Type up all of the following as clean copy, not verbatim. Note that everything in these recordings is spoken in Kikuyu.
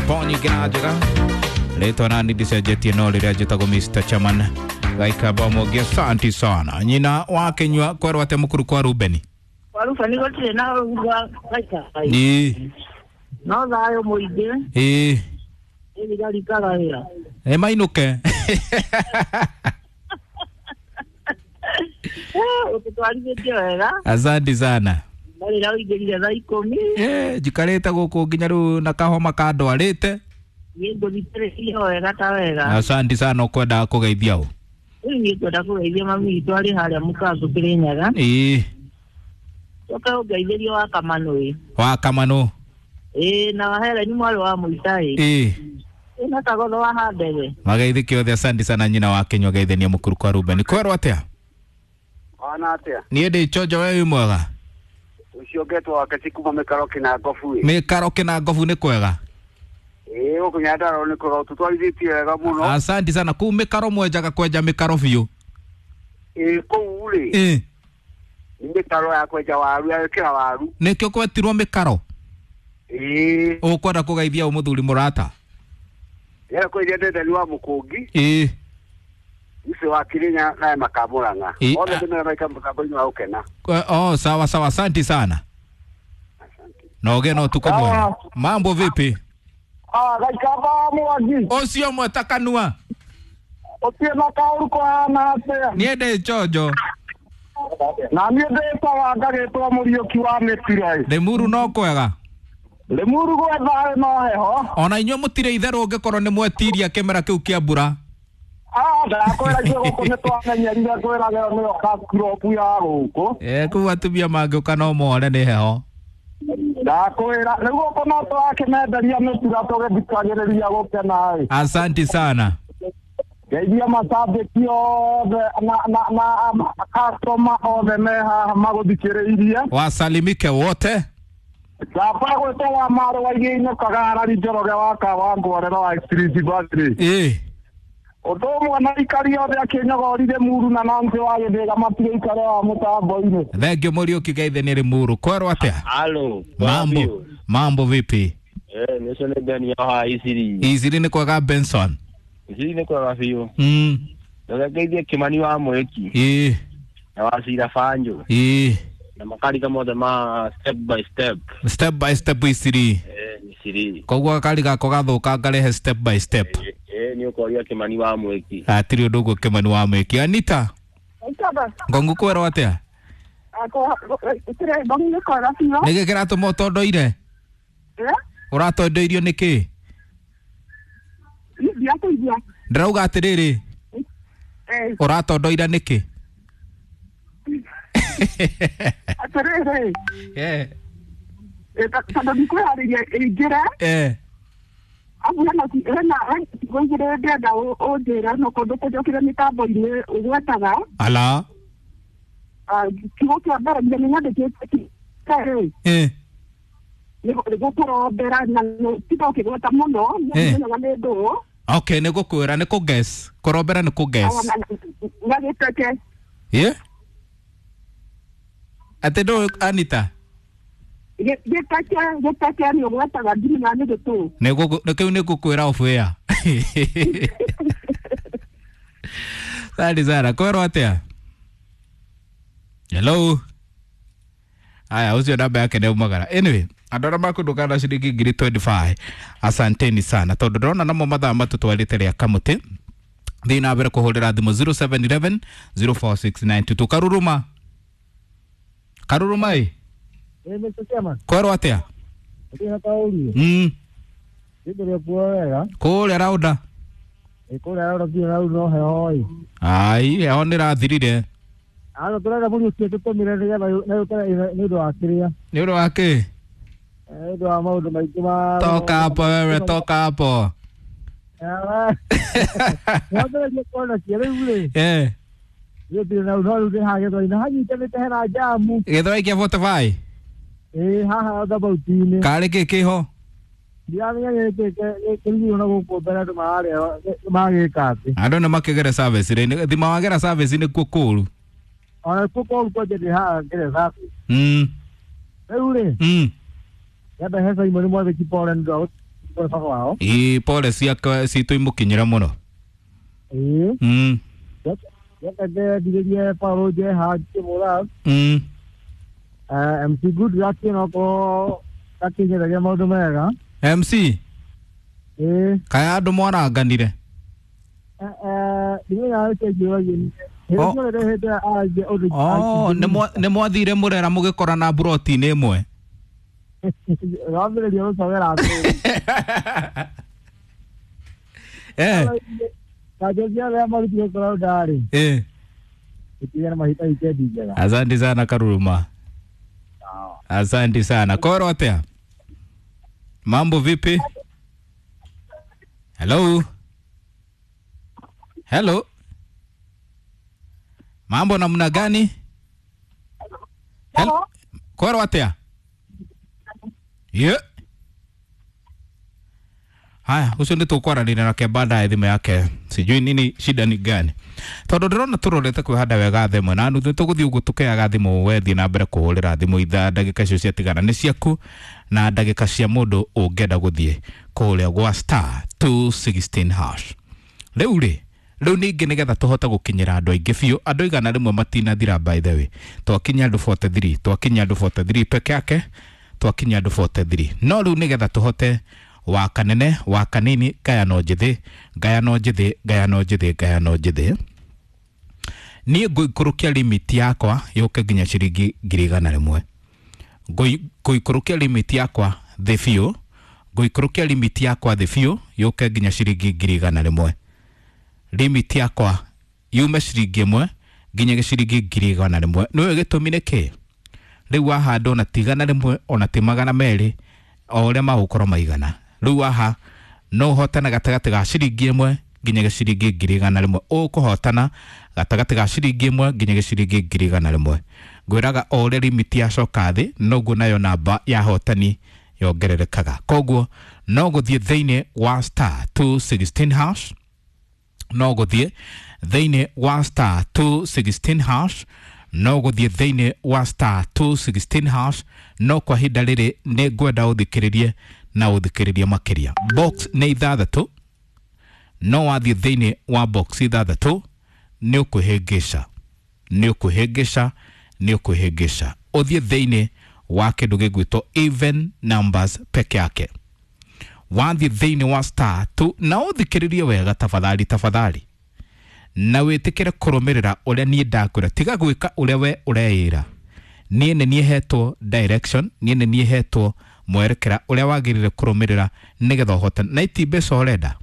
Nyĩmbo nyingĩ na njega rĩtwa nani ndicenjetie no rĩrĩa njĩtagwo Mr. Chairman Gaikamba Mwangi. Asante sana nyina wa Kinyua kwerwo atĩa mũkuru kwa Rubeni. Kwa Rubeni gũtirĩ na ũru gaika Ĩĩ. No thayũ mũingĩ. Ĩĩ. Thigari ikaga wĩra. Ĩ mainũke. Ũtũtwarithĩtie wega. Asante sana. Na rĩrĩa ũingĩrire thaa 10. Njikarĩte gũkũ nginya rĩu na kahoma kandwarĩte. Niĩ ngũthikĩrĩirie wega ta wega. Asante sana. Ũkwendaga kũgeithia ũ? Rĩu niĩ ngwenda kũgeithia mami witũ arĩ harĩa mũkango Kĩrĩnyaga. Ĩĩ. Ũke ũngeithĩrie wa Kamanũ. Wa Kamanũ. Ĩĩ, na wa Helen mwarĩ wa Mũitai. Ĩĩ. Ĩĩ, na Kagotho wa Handege. Mageithĩke othe. Asante sana nyina wa Kinyua geithania mũkuru kwa Rubeni. Kwerwo atĩa? Wana atĩa? Niĩ ndĩ chonjo, we wĩ mwega? Ũcio ngetwo wake kuma mĩkaro kĩna ngobu ĩ. Mĩkaro kĩna ngobu nĩ kwega. Ĩĩ, gũkũ Nyandarua nĩ kwega, tũtwarithĩtie wega mũno. Asante sana. Kũu mĩkaro mwenjaga kwenja mĩkaro biũ? Ĩĩ, kũu rĩ. Ĩĩ. Nĩ mĩkaro ya kwenja waru, ya gwĩkĩra waru. Nĩkĩo kwetirwo mĩkaro? Ĩĩ. Ũkwenda kũgeithia ũ mũthuri mũrata? Ndĩrenda kũgeithia Ndenderi wa Mũkũngi. Ĩĩ. Ũcio wa Kĩrĩnya naye Makamũrang'a. Othe ndĩmera maika mũtambo-inĩ wa gũkena. Oh, sawa sawa, asante sana. Na ũgĩe na ũtukũ mwega. Mambo vipi? Ah, Gaikamba Mwangi. Ũcio mweta kanua. Ũtirĩ na kaũru kũhana atĩa? Niĩ ndĩ chonjo. Na niĩ ndĩtaga ngagĩtwo Mũriũki wa Mĩtira. Rĩmuru no kwega. Rĩmuru gwĩ thayũ no heho. Ona inyuĩ mũtirĩ itherũ ũngĩkorwo nĩ mwetiria kĩmera kĩu kĩa mbura. Ah, ndakwĩra ithuĩ gũkũ nĩ twamenyerire kwĩragĩrwo nĩyo kakurobu ya gũkũ. Kũu atumia mangĩũka no more nĩ heho. Ndakwĩra rĩu gũkũ no tũrakĩmenderia mĩtira tũgĩthikagĩrĩria gũkena ĩ. Asante sana. Ngeithia macambĩki othe na customer othe me haha magũthikĩrĩirie. Wasalimike wote. Baba gwĩtwo wa Marũ wa Iria-inĩ Kagarari Njoroge wa Kawangwarera wa Express Battery. Ĩĩ. Ũndũ ũmwe na aikari othe akĩnyogorire Muru na Nancy wa Gĩthĩga matigĩikare wa mũtambo-inĩ. Thank you Mũriũki geithania Rĩmuru. Kwerwo atĩa? Halo. Mambo. Mambo vipi? Nĩcio nĩ Beni haha Isiri. Isiri nĩ kwega Benson. Isiri nĩ kwega biũ. Ngeithie Kĩmani wa Mwĩki. Ĩĩ. Na wa Cira Banjo. Ĩĩ. Na makarika mothe ma step by step. Step by step Isiri. Isiri. Koguo gakari gakwa gathũka ngarehe step by step. Nĩ ũkoria Kĩmani wa Mwĩki. Hatirĩ ũndũ ũguo Kĩmani wa Mwĩki. Anita. Ngongu kwerwo atĩa? Nĩkĩ kĩratũma ũtondoire? Ũratondoirio nĩkĩ? Ndĩrauga atĩrĩrĩ, ũratondoira nĩkĩ? Atĩrĩrĩ. Tondũ ndikwĩharĩria ĩingĩre. Abu hena ciugo igĩrĩ ndĩrenda ũnjĩre no kũndũ kũnjokire mĩtambo-inĩ ũgwetaga. Ala. Kiugo kĩa mbere nginya nĩnyandĩkĩte rĩ. Nĩ gũkũrombera na tiga ũkĩgweta mũno nĩmenyaga nĩ ndũũ. Okay, nĩ gũkwĩra nĩ kũ-guess. Kũrombera nĩ kũ-guess. Na gĩteke. Ĩ? Atĩ ndũĩ Anita? Gĩteke nĩ ũgwetaga ndimenyaga nĩ gĩtũũ. Nĩ kĩu nĩ ngũkwĩra off air. Sari sana, kwerwo atĩa? Hello. Aya, ũcio namba yake nĩ umagara. Anyway, andũ arĩa makũndũka na ciringi ngiri 25, asanteni sana tondũ ndĩrona namo mathaa matũtwarĩte rĩa kamũtĩ. Thiĩ na mbere kũhũrĩra thimũ 0711 046922. Karuruma. Karuruma ĩ. Kwerwo atĩa? Kũrĩa raunda. Ai, heho nĩ ĩrathirire. Ano tũrenda Mũriũki tũtũmire nĩgetha nĩ ũndũ wa kĩrĩa. Nĩ ũndũ wa kĩ? Nĩ ũndũ wa maũndũ maingĩ ma. Toka hapo wewe, toka hapo. Wambĩrĩrie kuona cia rĩu rĩ. Niĩ ndirĩ na no rĩu ndĩ haha Gĩthwai-inĩ hanyitanĩte hena njamu. Gĩthwai kĩa 45? Ĩĩ, haha roundabout-inĩ. Karĩ kĩ kĩho? Ndiramenya nĩ kĩ kĩrigirwo na gũkũ mbere andũ mararĩa magĩka atĩ. Andũ nĩ makĩgere service rĩ, thima wagera service nĩkuo kũũru. Ona kuo kũũru kwanja ndĩ haha ngere service. Rĩu rĩ. Nyambe he Simon Mwathĩki pole nĩ ũndũ wa Pole baba wao. Ii pole ciake citũ imũkinyĩre mũno. Ĩĩ. Reke ndigĩrie Paul Njeha ngĩmũra. MC Good Luck no akinyĩragia maũndũ mega. MC? Ĩĩ. Kaya andũ mwaranganire? Oh, nĩ mwathire mũrera mũgĩkorana mburoti-inĩ ĩmwe? Wambĩrĩria gũcogera. Eh. Kajozi arĩa marutire kũraunda-rĩ. Eh. Ĩtigane mahinda wikendi njega. Asante sana Karuruma. Asante sana. Koro atia? Mambo vipi? Hello. Hello. Mambo namna gani? Hello. Koro atia? Yeah. Haya, ucio nĩ tũkwaranĩria nake baadaye thimũ yake. Sijui nini shida ni gani. Tondũ ndĩrona tũrorete kwĩhanda wega thimũ na nuthu tũgũthiĩ ũguo tũkĩaga thimũ wethiĩ na mbere kũhũrĩra thimũ ithaa ndagĩka icio ciatigana nĩ ciaku na ndagĩka cia mũndũ ũngĩenda gũthiĩ kũrĩa gwa star 216 hash. Rĩu rĩ, rĩu ningĩ nĩgetha tũhote gũkinyĩra andũ aingĩ biũ, andũ 100 matinathira by the way. Twakinya andũ 43, twakinya andũ 43 peke yake, twakinya andũ 43. No rĩu nĩgetha tũhote wa kanene wa kanini ngayano njĩthĩ ngayano njĩthĩ ngayano njĩthĩ ngayano njĩthĩ, niĩ ngũikũrũkia limit yakwa yũke nginya ciringi 100,000. Ngũikũrũkia limit yakwa thĩ biũ, ngũikũrũkia limit yakwa thĩ biũ yũke nginya ciringi 100,000. Limit yakwa yume ciringi 1 nginya ciringi 100,000. Nĩũĩ gĩtũmi nĩ kĩ? Rĩu wahanda ona ti 100 ona ti 200 o ũrĩa magũkorwo maigana. Rĩu haha no ũhotane gatagatĩ ga ciringi 1 nginya ciringi 100,000. Ũkũhotana gatagatĩ ga ciringi 1 nginya ciringi 100,000. Ngwĩraga o ũrĩa limit yacoka thĩ noguo nayo namba ya hotani yongererekaga. Koguo no gũthiĩ thĩinĩ wa star 216 hash, no gũthiĩ thĩinĩ wa star 216 hash, no gũthiĩ thĩinĩ wa star 216 hash. No kwa ihinda rĩrĩ nĩ ngwenda ũthikĩrĩrie na ũthikĩrĩrie makĩria. Box nĩ 6, no wathiĩ thĩinĩ wa box 6 nĩ ũkwĩhĩngĩca, nĩ ũkwĩhĩngĩca, nĩ ũkwĩhĩngĩca. Ũthiĩ thĩinĩ wa kĩndũ gĩgwĩtwo even numbers peke yake. Wathiĩ thĩinĩ wa star 2 na ũthikĩrĩrie wega tafadhali, tafadhali, na wĩtĩkĩre kũrũmĩrĩra ũrĩa niĩ ndakwĩra. Tiga gwĩka ũrĩa we ũreĩra. Niĩ nĩ niĩ hetwo direction, niĩ nĩ niĩ hetwo mwerekera ũrĩa wagĩrĩire kũrũmĩrĩra nĩgetha ũhotane. Na iti mbeca ũrenda,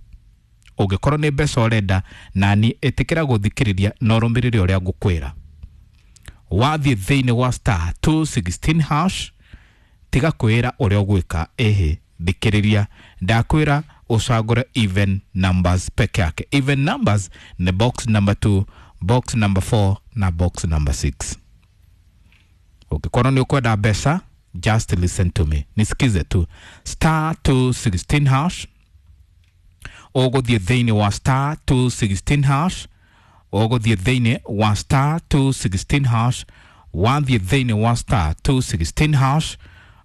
ũngĩkorwo nĩ mbeca ũrenda, na niĩ ĩtĩkĩra gũthikĩrĩria na ũrũmĩrĩre ũrĩa ngũkwĩra. Wathiĩ thĩinĩ wa star 216 hash, tiga kwĩra ũrĩa ũgwĩka. Ĩhĩ, thikĩrĩria, ndakwĩra ũcagũre even numbers peke yake. Even numbers ni box number 2, box number 4 na box number 6. Ũngĩkorwo nĩ ũkwenda mbeca, just listen to me, nisikize tu. Star 216 hash, ũgũthiĩ thĩinĩ wa star 216 hash, ũgũthiĩ thĩinĩ wa star 216 hash. Wathiĩ thĩinĩ wa star 216 hash,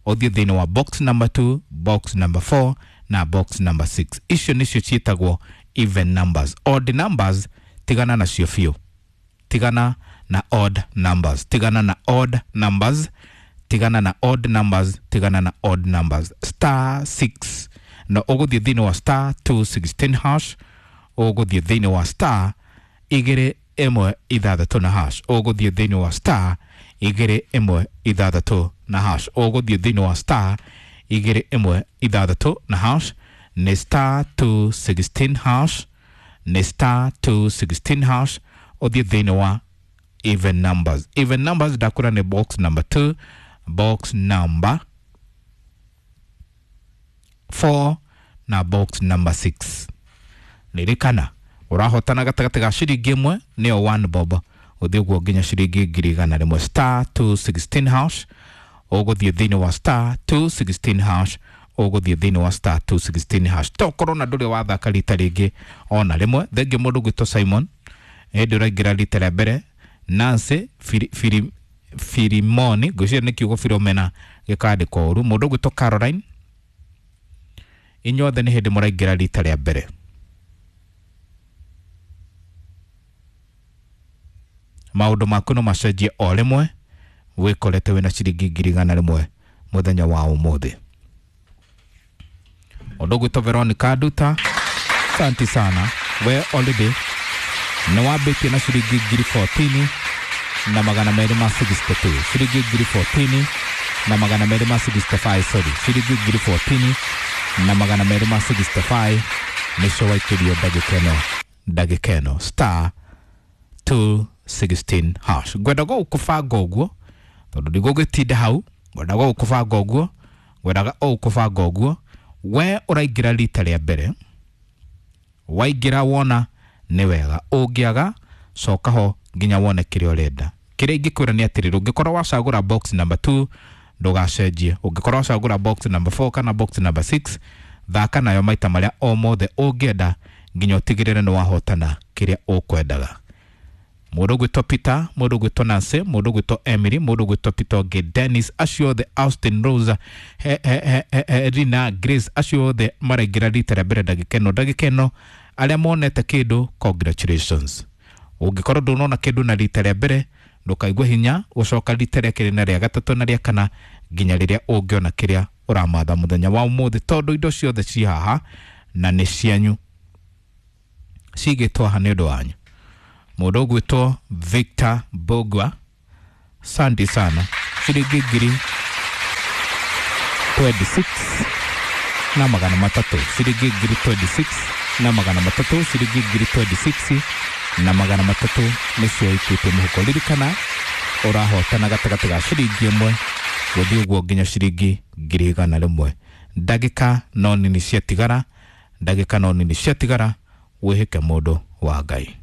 ũthiĩ thĩinĩ wa box number 2, box number 4 na box number 6. Icio nĩcio ciĩtagwo even numbers. Odd numbers tigana nacio biũ. Tigana na odd numbers, tigana na odd numbers, tigana na odd numbers, tigana na odd numbers. Star 6 na ũgũthiĩ thĩinĩ wa star 216 hash, ũgũthiĩ thĩinĩ wa star 216 na hash, ũgũthiĩ thĩinĩ wa star 216 na hash, ũgũthiĩ thĩinĩ wa star 216 na hash. Nĩ star 216 hash, nĩ star 216 hash. Ũthiĩ thĩinĩ wa even numbers. Even numbers ndakwĩra nĩ box number 2, box number 4 na box number 6. Ririkana ũrahotana gatagatĩ ga ciringi 1 nĩyo 1 bob, ũthiĩ ũguo nginya ciringi 100,000. Star 216 hash, ũgũthiĩ thĩinĩ wa star 216 hash, ũgũthiĩ thĩinĩ wa star 216 hash. Tokorwo na ndũrĩ wathaka rita rĩngĩ ona rĩmwe. Thengiũ mũndũ gwĩtwo Simon, hĩndĩ ũraingĩra rita rĩa mbere. Nancy Firimoni, ngwĩciria nĩ kiugo Filomena gĩkandĩkwo ũru. Mũndũ gwĩtwo Caroline, Inyuothe nĩ hĩndĩ mũraingĩra rita rĩa mbere. Maũndũ maku no macenjie o rĩmwe wĩkorete wĩna ciringi 100,000 mũthenya wa ũmũthĩ. Ũndũ ũgwĩtwo Veronica Nduta, asante sana. We already nĩ wambĩtie na ciringi 14,262, ciringi 14,265, sorry, ciringi 14,265 nĩcio waikĩrio ndagĩka ĩno star 216 hash. Ngwenda gũkũbanga ũguo tondũ ndigũgĩtinda hau, ngwendaga gũkũbanga ũguo, ngwendaga gũkũbanga ũguo. We ũraingĩra rita rĩa mbere, waingĩra wona nĩ wega, ũngĩaga coka ho nginya wone kĩrĩa ũrenda. Kĩrĩa ingĩkwĩra nĩ atĩrĩrĩ, ũngĩkorwo wacagũra box number 2 ndũgacenjie, ũngĩkorwo wacagũra box number 4 kana box number 6 thaka nayo maita marĩa o mothe ũngĩenda nginya ũtigĩrĩre nĩ wahotana kĩrĩa ũkwendaga. Mũndũ ũgwĩtwo Peter, mũndũ ũgwĩtwo Nancy, mũndũ ũgwĩtwo Emily, mũndũ ũgwĩtwo Peter ũngĩ Dennis, acio othe Austin Rose, Rina Grace, acio othe maraingĩra rita rĩa mbere ndagĩka ĩno arĩa monete kĩndũ, congratulations. Ũngĩkorwo ndũnona kĩndũ na rita rĩa mbere ndũkaigue hinya gũcoka rita rĩa kerĩ na rĩa gatatũ na rĩa kana nginya rĩrĩa ũngĩona kĩrĩa ũramatha mũthenya wa ũmũthĩ, tondũ indo ciothe ci haha na nĩ cianyu, cigĩtwo haha nĩ ũndũ wanyu. Mũndũ ũgwĩtwo Victor Bogwa, asante sana, ciringi 26,300, ciringi 26,300, ciringi 26,300 nĩcio ikĩtio mũhuko. Ririkana ũrahotana gatagatĩ ga ciringi 1 gũthiĩ ũguo nginya ciringi 100,000. Ndagĩka no nini ciatigara, ndagĩka no nini ciatigara, wĩhĩke mũndũ wa Ngai.